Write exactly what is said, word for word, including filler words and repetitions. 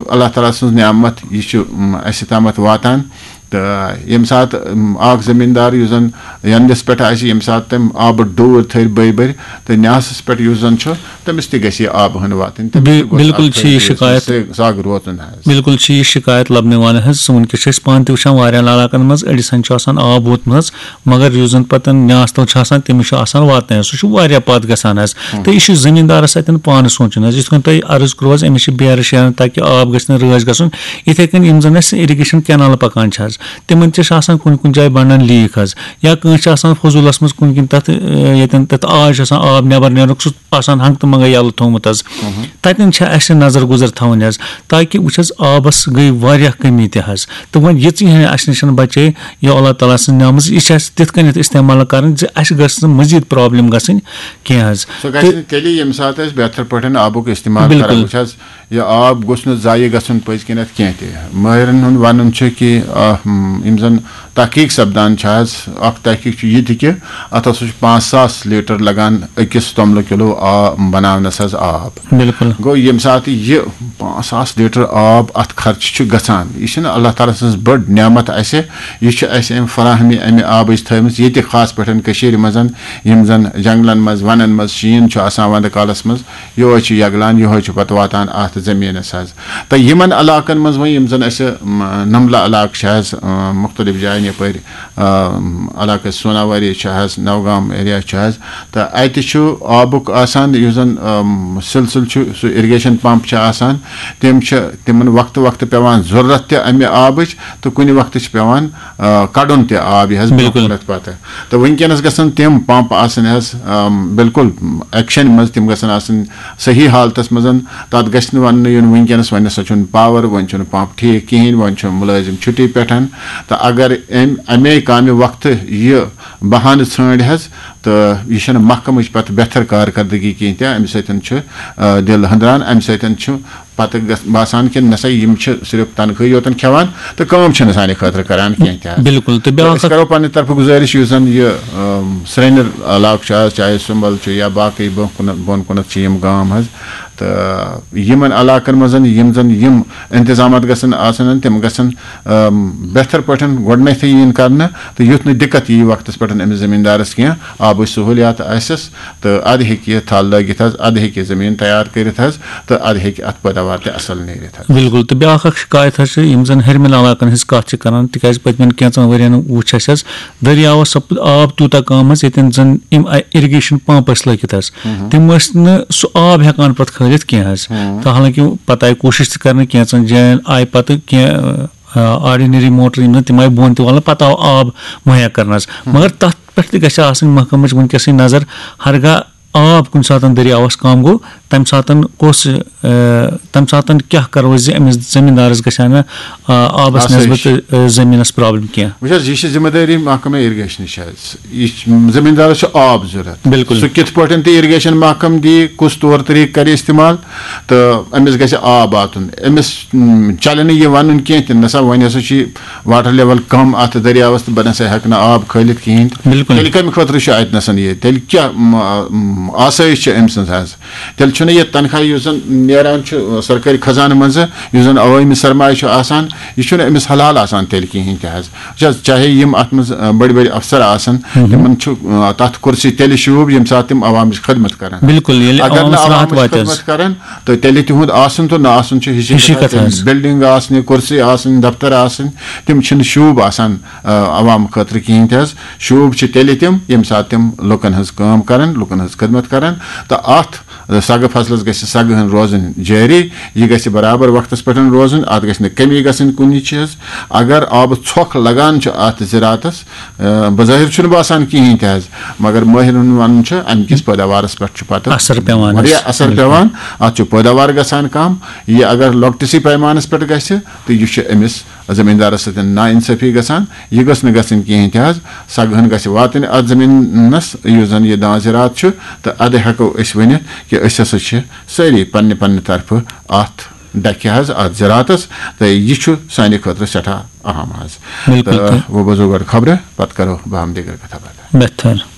اللہ تعالیٰ سٕنٛز نعمت، یہِ چھِ، م، اَسہِ تامَتھ واتان۔ تہٕ ییٚمہِ ساتہٕ، م، اَکھ زٔمیٖندار یُس زَن یَنٛدَس پٮ۪ٹھ آسہِ، ییٚمہِ ساتہٕ تٔمۍ آبہٕ ڈوٗر تھٲوِتھ بٔرۍ بٔرۍ، تہٕ نیاسَس پٮ۪ٹھ یُس زَن چھُ، تٔمِس تہِ گژھِ یہِ آبہٕ ہٕن واتٕنۍ۔ تٔمِس بِل-، تہِ گوٚژھ بِلکُل اَتھ چھِ یہِ خٲطرٕ شِکایت۔ سَگ، سَگ روزُن حظ۔ بِلکُل چھِ یہِ شِکایت لَبنہٕ یِوان حظ۔ سون کِس چھِ أسۍ پانہٕ تہِ وٕچھان واریاہَن علاقَن منٛز، أڑِس ہَن چھُ آسان آب ووتمُت حظ، مگر یُس زَن پَتہٕ نیاس تَل چھُ آسان، تٔمِس چھُ آسان واتنَے حظ۔ سُہ چھُ واریاہ پَتھ گژھان حظ۔ تہٕ یہِ چھُ زٔمیٖندارَس اَتٮ۪ن پانہٕ سونٛچُن حظ۔ یِتھ کٔنۍ تۄہہِ عرض کوٚروٕ حظ، أمِس چھِ بیرٕ شیران تاکہِ آب گژھِ نہٕ رٲچھ گژھُن۔ یِتھَے کٔنۍ یِم زَن اَسہِ irrigation canal پَکان چھِ حظ، تِمَن تہِ چھِ آسان کُنہِ کُنہِ جایہِ بَنان leak حظ، یا کٲنٛسہِ چھِ آسان فضوٗلَس منٛز کُنہِ کِنۍ تَتھ، اَ، ییٚتٮ۪ن تَتھ آے چھُ آسان آب نٮ۪بَر نیرُن، سُہ آسان ہنٛگتہٕ منٛگَے یَلہٕ تھوٚومُت حظ۔ تَتٮ۪ن چھِ اَسہِ نظر گُزر تھاوٕنۍ حظ، تاکہِ وٕچھ حظ، آبَس گٔے واریاہ کٔمی تہِ حظ۔ تہٕ وۄنۍ یِژٕے ہَن اَسہِ نِش بَچے، یہِ اللہ تعالیٰ سٕنٛز نعمت، یہِ چھِ اَسہِ تِتھ کٔنٮ۪تھ استعمال کَرٕنۍ زِ اَسہِ گٔژھ نہٕ مٔزیٖد problem گژھٕنۍ کینٛہہ حظ۔ سُہ گژھِ تہٕ نہٕ تیٚلہِ، ییٚمہِ ساتہٕ أسۍ بہتر پٲٹھۍ آبُک استعمال کَرو۔ بِلکُل۔ وٕچھ حظ، یہِ آب گوٚژھ نہٕ ضایع گژھُن پٔزۍ کِنٮ۪تھ کینٛہہ تہِ۔ مٲہرَن ہُنٛد وَنُن چھُ کہِ، آ، ہم، یِم زَن تحقیٖق سَپدان چھِ حظ، اَکھ تحقیٖق چھُ یہِ تہِ کہِ اَتھ ہسا چھُ پانٛژھ ساس لیٖٹر لَگان أکِس توٚملہٕ کِلوٗ آ-، بَناونَس حظ آب۔ بِلکُل۔ گوٚو، ییٚمہِ ساتہٕ یہِ پانٛژھ ساس لیٖٹر آب اَتھ خرچہٕ چھُ گژھان، یہِ چھِنہٕ اللہ تعالیٰ سٕنٛز بٔڑ نعمت اَسہِ، یہِ چھِ اَسہِ اَمہِ فراہمی، اَمہِ آبٕچ تھٲومٕژ ییٚتہِ، خاص پٲٹھۍ کٔشیٖرِ منٛز، یِم زَن جنٛگلَن منٛز، وَنَن منٛز شیٖن چھُ آسان وَندٕ کالَس منٛز، یِہوٚے چھُ یَگلان، یِہوٚے چھُ پَتہٕ واتان اَتھ زٔمیٖنَس حظ۔ تہٕ یِمَن علاقَن منٛز وۄنۍ یِم زَن اَسہِ، م، نَمبلہٕ علاقہٕ چھِ حظ، م، مُختٔلِف جایَن یَپٲرۍ، م، علاقہٕ سوناواری چھِ حظ، نوگام area چھُ حظ، تہٕ اَتہِ چھُ آبُک آسان یُس زَن، م، سِلسِلہٕ چھُ، سُہ irrigation pump چھِ آسان، تِم چھِ تِمَن وقتہٕ وقتہٕ پٮ۪وان ضروٗرت تہِ اَمہِ آبٕچ، تہٕ کُنہِ وقتہٕ چھِ پٮ۪وان، آ، کَڑُن تہِ آب یہِ حظ برونٛہہ بِلکُل۔ کُنَتھ پَتہٕ۔ تہٕ وٕنکیٚنَس گژھن تِم pump آسٕنۍ حظ، آم، بِلکُل action منٛز، تِم گژھن آسٕنۍ صحیح حالتَس منٛز۔ تَتھ گژھِ نہٕ وَننہٕ یُن وٕنکیٚنَس وۄنۍ نَسا چھُنہٕ power، وۄنۍ چھُنہٕ pump ٹھیٖک کِہیٖنۍ، وۄنۍ چھُ مُلٲزِم چھُٹی پٮ۪ٹھ۔ تہٕ اگر أمۍ اَمے کامہِ وقتہٕ یہِ بہانہٕ ژھٲنٛڈۍ حظ، تہٕ یہِ چھَنہٕ محکمٕچ پَتہٕ بہتر کارکردگی کِہیٖنۍ تہِ، اَمہِ سۭتۍ چھُ، آ، دِل ہٕنٛدران، اَمہِ سۭتۍ چھُ پتہٕ گژھ-، باسان کہِ نسا یِم چھِ صرف تنخواہی یوتن کھٮ۪وان تہٕ کٲم چھِنہٕ سانہِ خٲطرٕ کران کینٛہہ تہِ حظ۔ بِلکُل، تہٕ تہٕ بیٛاکھ أسۍ اکھ کرو پننہِ طرفہٕ گُزٲرِش، یُس زن یہِ، ٲم، سرینر علاقہٕ چھُ حظ، چاہے سُمبل چھُ یا باقٕے برونٛہہ کُن، بۄن کُنتھ چھِ یِم گام حظ، تہٕ یِمن علاقن منٛز یِم زن یِم انتظامات گژھن آسن، تِم گژھن، ٲم، بہتر پٲٹھۍ گۄڈٕنیتھٕے یِنۍ کرنہٕ، تہٕ یُتھ نہٕ دِقت یی وقتس پٮ۪ٹھ أمِس زٔمیٖندارس کینٛہہ، آبٕچ سہوٗلیات آسٮ۪س۔ تہٕ اَدٕ ہیٚکہِ یہِ تھل لٲگِتھ حظ، اَدٕ ہیٚکہِ یہِ زٔمیٖن تیار کٔرِتھ حظ، تہٕ اَدٕ ہیٚکہِ اَتھ پٲداوار تہِ اَصٕل نیٖرِتھ حظ۔ بِلکُل، تہٕ بیٛاکھ اَکھ شِکایت حظ چھِ، یِم زَن ہیٚرمٮ۪ن علاقَن ہٕنٛز کَتھ چھِ کَران، تِکیٛازِ پٔتمٮ۪ن کینٛژَن ؤرِیَن وُچھ اَسہِ حظ، دٔریاوَس سَپُد آب تیوٗتاہ کَم حظ، ییٚتٮ۪ن زَن یِم اَ-، irrigation pump ٲسۍ لٲگِتھ حظ، ہُم۔ تِم ٲسۍ نہٕ سُہ آب ہٮ۪کان پَتہٕ کھٲلِتھ کینٛہہ حظ۔ ہُم۔ تہٕ حالانکہِ پَتہٕ آیہِ کوٗشِش تہِ کَرنہٕ، کینٛژَن جایَن آیہِ پَتہٕ کینٛہہ، آ، ordinary موٹر یِم زَن تِم آیہِ بۄن تہِ والنہٕ، پَتہٕ آو آب مُہیا کَرنہٕ حظ۔ ہُم۔ مگر تَتھ پٮ۪ٹھ تہِ گژھِ آسٕنۍ محکمٕچ وٕنکیٚسٕے نظر، ہرگاہ آب کُنہِ ساتَن دٔریاوَس کَم گوٚو، تَمہِ ساتَن کُس، آ، تَمہِ ساتَن کیٛاہ کَرو أسۍ زِ أمِس زٔمیٖندارَس گژھِ ہا نہٕ، آ، آبَس آسٲیِش۔ نٮ۪سبَت، آ، زٔمیٖنَس problem کینٛہہ؟ وٕچھ حظ، یہِ چھِ ذمہٕ دٲری محکمہ irrigationٕچ حظ۔ یہِ چھِ، زٔمیٖندارَس چھُ آب ضوٚرَتھ۔ بِلکُل۔ سُہ کِتھ پٲٹھۍ تہِ irrigation محکمہٕ دی، کُس طور طریٖقہٕ کَرِ استعمال، تہٕ أمِس گژھِ آب واتُن۔ أمِس، م، چَلہِ نہٕ یہِ وَنُن کینٛہہ تہِ، نہ سا وۄنۍ ہسا چھُ یہِ water level کَم اَتھ دٔریاوَس تہٕ بہٕ نہ سا ہٮ۪کہٕ نہٕ آب کھٲلِتھ کِہیٖنۍ تہِ۔ بِلکُل۔ تیٚلہِ کَمہِ خٲطرٕ چھُ اَتہِ نَسَن یہِ؟ تیٚلہِ کیٛاہ، م، م، آسٲیِش چھِ أمۍ سٕنٛز حظ؟ تیٚلہِ چھُنہٕ یہِ تنخواہ یُس زَن نیران چھُ، آ، سرکٲرۍ خزانہٕ منٛزٕ، یُس زَن عوٲمی سرمایہِ چھُ آسان، یہِ چھُنہٕ أمِس حلال آسان تیٚلہِ کِہیٖنۍ تہِ حظ۔ وٕچھ حظ، چاہے یِم اَتھ منٛز، آ، بٔڑۍ بٔڑۍ افسر آسَن، ہُم۔ تِمَن چھُ، آ، تَتھ کُرسی تیٚلہِ شوٗب، ییٚمہِ ساتہٕ تِم عوامٕچ خدمت کَرَن۔ بِلکُل، ییٚلہِ اگر نہٕ عوامَس راحت عوامٕچ واتہِ حظ۔ خدمت کَرَن، تہٕ تیٚلہِ تِہُنٛد آسُن تہٕ نہ آسُن چھُ ہِشی ہِشی کَتھ۔ کَتھ حظ۔ Building آسنہِ، کُرسی آسٕنۍ، دفتر آسٕنۍ، تِم چھِنہٕ شوٗب آسان، آ، عوام خٲطرٕ کِہیٖنۍ تہِ حظ۔ شوٗب چھِ تیٚلہِ تِم، ییٚمہِ ساتہٕ تِم لُکَن ہٕنٛز کٲم کَرَن، لُکَن ہٕنٛز خدمت کَرَن۔ تہٕ اَتھ سَگہٕ فصلَس گژھِ سَگہٕ ہن روزٕنۍ جٲری، یہِ گژھِ برابر وقتَس پٮ۪ٹھ روزٕنۍ، اَتھ گژھِ نہٕ کٔمی گژھٕنۍ کُنہِ چیٖز۔ اگر آبہٕ ژھۄکھ لَگان چھُ اَتھ زِراعتَس، آ، بظٲہِر چھُنہٕ باسان کِہیٖنۍ تہِ حظ، مگر مٲہِرَن ہُنٛد وَنُن چھُ، اَمہِ کِس پٲداوارَس پٮ۪ٹھ چھُ پَتہٕ اثر پٮ۪وان حظ۔ واریاہ اثر بِلکُل۔ پٮ۪وان۔ اَتھ چھُ پٲداوار گژھان کَم۔ یہِ اگر لۄکٹِسٕے پیمانَس پٮ۪ٹھ گژھِ، تہٕ یہِ چھُ أمِس زٔمیٖندارَس سۭتۍ نااِنصٲفی گژھان۔ یہِ گٔژھ نہٕ گژھٕنۍ کِہیٖنۍ تہِ حظ۔ سَگہٕ ہن گژھِ واتٕنۍ اَتھ زٔمیٖنَس، یُس زَن یہِ دانہِ زِراعت چھُ، تہٕ اَدٕ ہٮ۪کو أسۍ ؤنِتھ کہِ أسۍ ہسا چھِ سٲری پنٛنہِ پنٛنہِ طرفہٕ اَتھ ڈَکھِ حظ، اَتھ زِراعتَس، تہٕ یہِ چھُ سانہِ خٲطرٕ سٮ۪ٹھاہ اَہَم حظ۔ بِلکُل، تہٕ تہٕ وۄنۍ بوزو گۄڈٕ خبرٕ، پَتہٕ کَرو بہٕ ہم دیٖگر کَتھا باتھا۔ بہتر۔